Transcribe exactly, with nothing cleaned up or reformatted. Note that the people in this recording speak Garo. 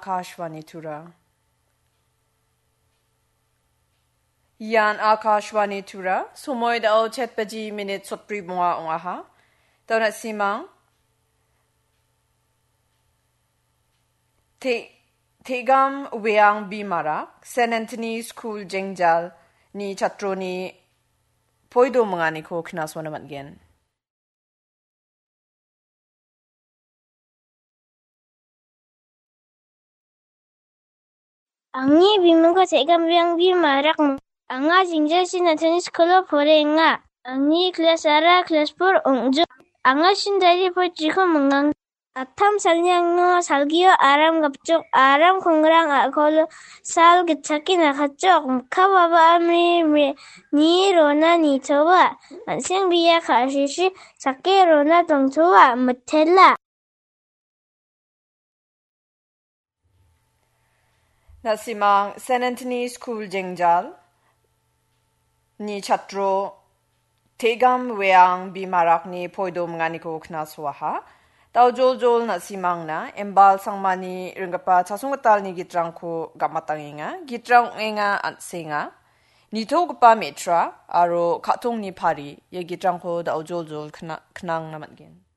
Akashvani Tura. Ian Akashvani Tura, somoi dao chet baji minit sotbri bonga ong·aha. Dao na·simang, Te-, Tegam Weang Bimarak, Saint Anthony School Jengjal ni chatroni poido minganiko knasona man·gen. Angni bimingko Segambiangbi Marak. Anga Jingjasin Anthony Skolo porenga. Angni klas ara klas por ong·jo. Anga sindari poitriko mingang. Attam salni angno salgio aram gapjok, aram kongrang a·kolo sal gitchake nakatjok. Mikka baba amri mi-, ni rona nitoa. An·seng bia ka·sisi sake rona tongtoa. Mitela. Na·simang Saint Anthony School Jengjal ni chatro Tegam Weang Bimarakni poido minganiko knasoaha. Daojoljol na·simangna Embal Sangmani ringgipa Chasonggitalni gitrangko gam·atangenga. Gitrang ong·enga an·senga. Nitogipa me·tra aro ka·tongni pari ia gitrangko daojoljol kna-, knangna man·gen.